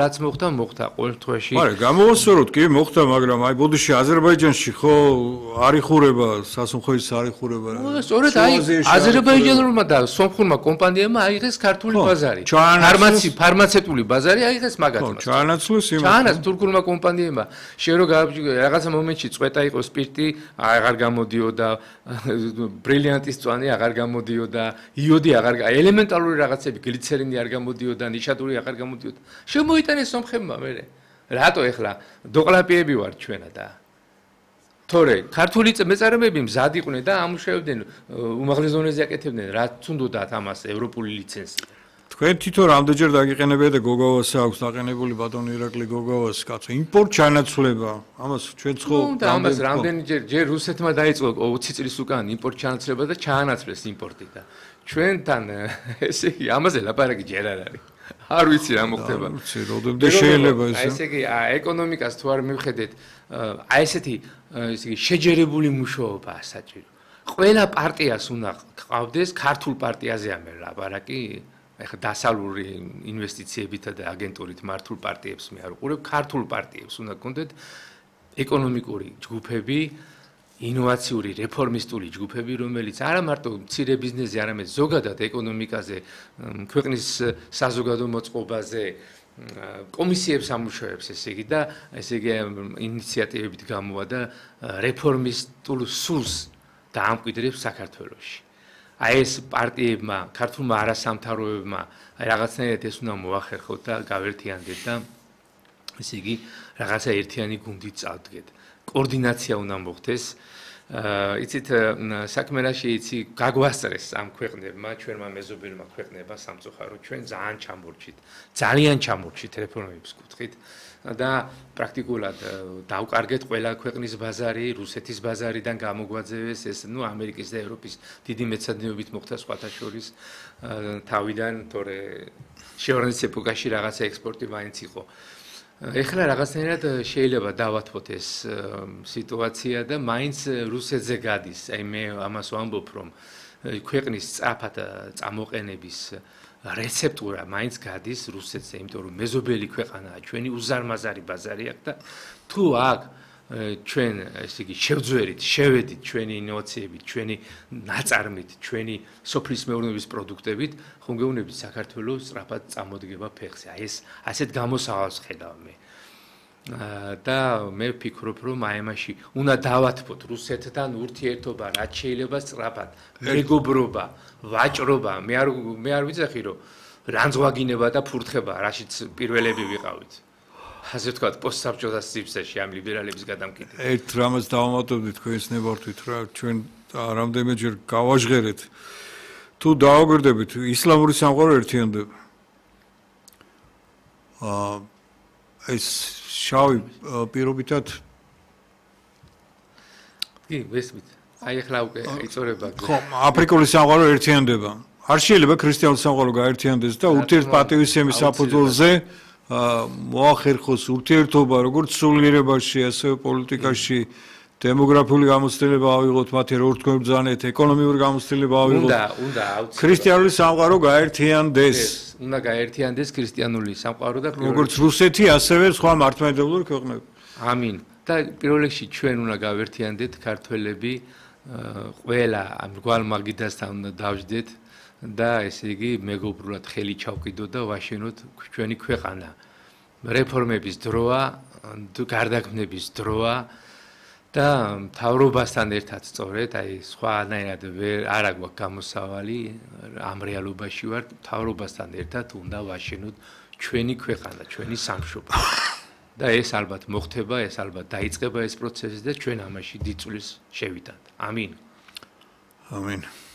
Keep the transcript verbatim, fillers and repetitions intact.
რაც მოხდა, მოხდა ყოველ თვეში. არა, გამოვასწოროთ კი, მოხდა, მაგრამ აი ბოდიში აზერბაიჯანში ხო არ იხურება სასუნხოის არ იხურება. სწორედ აი აზერბაიჯანულმა და სომხურმა კომპანიებმა აიღეს ქართული ბაზარი. ფარმაცი, ფარმაცევტული ბაზარი აიღეს მაგათმა. ხო, ჩაანაცვლეს იმას. ჩაანაც თურქულმა კომპანიებმა. შერო რაღაცა მომენტში წვეტა იყო სპირტი, აღარ გამოდიოდა, ბრილიანტის წვანი აღარ გამოდიოდა, იოდი აღარ, ელემენტარული რაღაცები, გლიცერინი არ გამოდიოდა, ნიშადური აღარ გამოდიოდა. შემოიტანეს სომხებმა მერე. რატო ეხლა დოყლაპიები ვარ ჩვენა და თორე ქართული მეწარმეები მზად იყვნენ და ამუშავებდნენ უმაღლეს ზონაზე აკეთებდნენ რაც უნდათ ამას ევროპული ლიცენზია. თქვენ თვითონ რამდენჯერ დაგიყენებია და გოგოვას აქვს დაყენებული ბატონი ირაკლი გოგოვას კაცო იმპორტ ჩანაცვლება ამას ჩვენ ხო და ამას რამდენჯერ ჯერ რუსეთმა დაიწყო ოცი წლის უკან იმპორტ ჩანაცვლება და ჩაანაცვლეს იმპორტი და ჩვენთან ესე იგი ამაზე ლაპარაკი ჯერ არ არის. არ ვიცი რა მოხდება. არ ვიცი, როდემდე შეიძლება ეს. აი ესე იგი ეკონომიკას თუ არ მივხედეთ, აი ესეთი ესე იგი შეჯერებული მუშაობაა საჭირო. ყველა პარტიას უნდა ყავდეს ქართულ პარტიაზეა მე ლაპარაკი. ეხლა დასავლური ინვესტიციებითა და აგენტურით მართულ პარტიებს მე არ უყურებ, ქართულ პარტიებს უნდა გქონდეთ ეკონომიკური ჯგუფები, ინოვაციური რეფორმისტული ჯგუფები, რომელიც არა მარტო მცირე ბიზნესზე, არამედ ზოგადად ეკონომიკაზე, ქვეყნის საზოგადო მოწყობაზე კომისიებს ამუშავებს, ესე იგი და ესე იგი ინიციატივებით გამოვა და რეფორმისტულ სულს დაამკვიდრებს საქართველოში. აი ეს პარტიებმა, ქართულმა არასამთავროებმა რაღაცნაირად ეს უნდა მოახერხოთ და გავერთიანდეთ და ესე იგი რაღაცა ერთიანი გუნდით წავდგეთ. კოორდინაცია უნდა მოხდეს. იცით საქმე რა შეიცი გაგვასწრეს ამ ქვეყნებმა, ჩვენმა მეზობელმა ქვეყნებმა სამწუხარო ჩვენ ძალიან ჩამორჩით. ძალიან ჩამორჩით რეფორმების კუთხით და პრაქტიკულად დავკარგეთ ყველა ქვეყნის ბაზარი, რუსეთის ბაზარიდან გამოგვაძევეს ეს ნუ ამერიკის და ევროპის დიდი მეცადინეობით მოხდა სხვათა შორის თავიდან, თორე შეორნის ეპოქაში რაღაცა ექსპორტი მაინც იყო. ეხლა რაღაცნაირად შეიძლება დავათმოთ ეს სიტუაცია და მაინც რუსეთზე გადის. აი მე ამას ვამბობ, რომ ქვეყნის სწრაფად წამოყენების რეცეპტურა მაინც გადის რუსეთზე, იმიტომ რომ მეზობელი ქვეყანაა, ჩვენი უზარმაზარი ბაზარი აქვს და თუ აქ ჩვენ ესე იგი შევძვერით, შევედით ჩვენი ინოვაციებით, ჩვენი ნაწარმით, ჩვენი სოფლის მეურნეობის პროდუქტებით, ხომ გეუბნებით საქართველოს სწრაფად წამოდგება ფეხზე. აი ეს ასეთ გამოსავალს ხედავ მე. და მე ვფიქრობ, რომ აი ამაში უნდა დავათმოთ რუსეთთან ურთიერთობა, რაც შეიძლება სწრაფად, მეგობრობა, ვაჭრობა. მე არ მე არ ვიცახი, რომ რანძღვაგინება და ფურთხება, რაშიც პირველები ვიყავით. ასე ვთქვათ, პოსტსაბჭოთა სივრცეში ამ ლიბერალების გადამკიდებით. ერთ რამაც დავამატებდით თქვენს ნებართვით რა, ჩვენ რამდენიმეჯერ გავაჟღერეთ. თუ დააგვირდებით, ისლამური სამყარო ერთიანდება. აა ეს შავი პირობითად კი, ვესმით. აი ახლა უკვე იწორება. ხო, აფრიკული სამყარო ერთიანდება. არ შეიძლება ქრისტიანული სამყარო გაერთიანდეს და ურთიერთპატივისცემის საფუძველზე მოახერხოს ურთიერთობა როგორც სულიერებაში, ასევე პოლიტიკაში, დემოგრაფიული გამოცდილება ავიღოთ, მათი რორთქმებრძანეთ, ეკონომიური გამოცდილება ავიღოთ. უნდა, უნდა აუცილებლად. ქრისტიანული სამყარო გაერთიანდეს. უნდა გაერთიანდეს ქრისტიანული სამყარო და როგორც რუსეთი, ასევე სხვა მართლმადიდებლური ქვეყნები. ამინ. და პირველ რიგში ჩვენ უნდა გავერთიანდეთ ქართველები, ყველა ამ რგვალ მაგიდასთან უნდა დავждეთ. და ესე იგი მეგობრულად ხელი ჩავკიდოთ და ვაშენოთ ჩვენი ქვეყანა. რეფორმების დროა, გარდაქმნების დროა და მთავრობასთან ერთად სწორედ, აი სხვანაირად არ აგვაქვს გამოსავალი ამ რეალობაში ვარ, მთავრობასთან ერთად უნდა ვაშენოთ ჩვენი ქვეყანა, ჩვენი სამშობლო. და ეს ალბათ მოხდება, ეს ალბათ დაიწყება ეს პროცესი და ჩვენ ამაში დიდ წვლილს შევიტანთ. ამინ. ამინ.